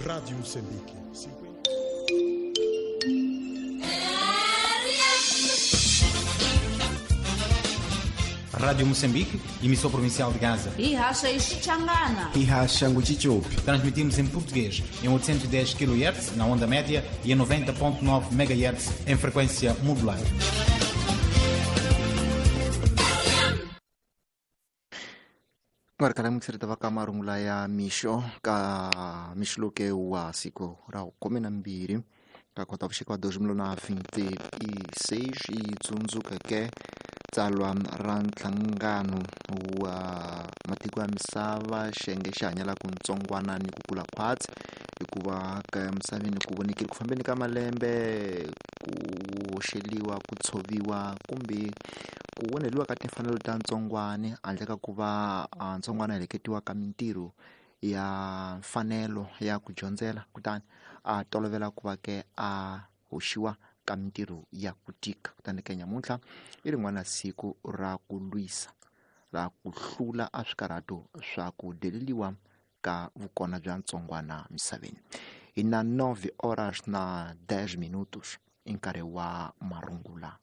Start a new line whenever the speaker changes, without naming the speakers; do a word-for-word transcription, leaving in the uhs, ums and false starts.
Rádio Moçambique.
Rádio Moçambique, emissão provincial de Gaza.
E racha Xichangana.
E racha Nguchichupi.
Transmitimos em português em oitocentos e dez quilohertz na onda média e em noventa ponto nove megahertz em frequência modular.
Ngari kala mukisirita va ka marungula ya mixo ka mixo loke wa siku ra khume na mbirhi ka kota vuxika wa dois mil na vinte e seis yi tsundzukeke tsalwa ra nhlangano wa matiko ya misava xiyenge xi hanyelaka ntsongwana ni ku kula khwatsi hikuva ka misaveni ku vonekile ku fambeni ka malembe ku hoxeliwa ku tshoviwa kumbe ku onheliwa ka timfanelo ta ntsongwani handle ka ku va ntsongwana heleketiwa ka mintirho ya mfanelo ya ku dyondzela kutani a tolovela ku va ke a hoxiwa ka mintirho ya ku tika. Kutani ke nyamuntlha i rin'wana siku ra ku lwisa ra ku hlula a swikarhato swa ku deleliwa ka vukona bya ntsongwana misaveni. Hi na nove horas na dez minutos i nkarhi wa marungula.